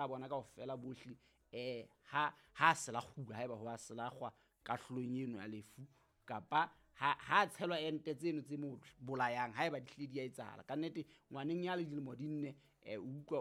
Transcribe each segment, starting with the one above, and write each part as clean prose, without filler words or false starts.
Bona kaofela bohle ha ha selakguwa, haeba ho a selakgwa kahlolong eno ya lefu, kapa ha tshelwa ente tseno tse mo bolayang, haeba di hlile di a etsahala. Kannete ngwaneng ya le dilemo di nne, o utlwa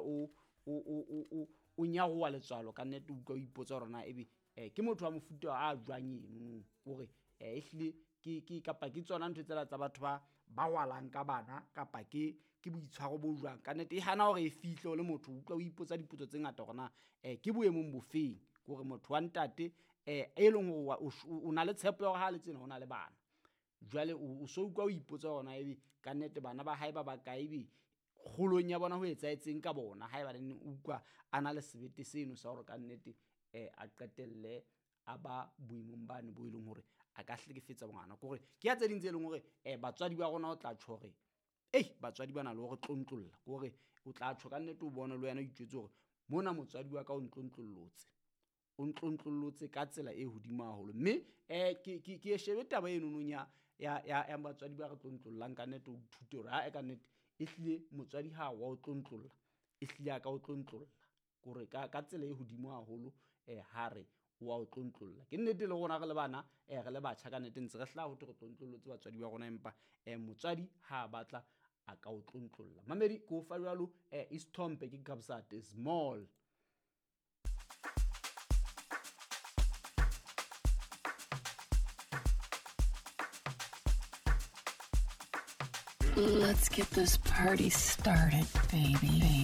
o nyaroha letswalo. Kannete o utlwa o ipotsa hore na ebe ke motho wa mofuta a jwang enono, hore ehlile ke kapa ke tsona ntho tsela tsa batho ba rwalang ka bana, kapa ke boitshwaro bo jwang. Kannete e hana hore e fihle o le motho, o utlwa o ipotsa dipotso tse ngata hore na ke boemong bofeng hore motho wa ntate e leng hore o na le tshepo ya hore ha le tsena o na le bana. Jwale o so utlwa o ipotsa hore na ebe kannete bana ba hae ba bakae, ebe kgolong ya bona ho etsahetseng ka bona, haeba neneng o utlwa a na le sebete seno sa hore kannete a qetelle a ba boemong bane bo e leng hore a ka hlekefetsa ngwana. Ke hore ke ya tse ding tse leng hore batswadi ba rona o tla tjho hore ei batswadi ba na le hore tlontlolla, ke hore o tla tjho kannete o bone le wena o itjwetse hore mona motswadi wa ka o ntlontlollotse, o ntlontlollotse ka tsela e hodimo haholo. Mme ke e shebe taba enonong ya batswadi ba re tlontlollang. Kannete o ithute hore ae kannete ehlile motswadi ha wa o tlontlolla, ehlile a ka o tlontlolla kore ka tsela e hodimo haholo. Ha re wa o tlontlolla, ke nnete le rona re le bana, re le batjha, kannete ntse re hlaha ho thwe re tlontlollotse batswadi ba rona, empa motswadi ha a batla a ka o tlontlolla. Mamedi ke o fa jwalo isithombe ke Kabza De Small. Let's get this party started, baby, baby.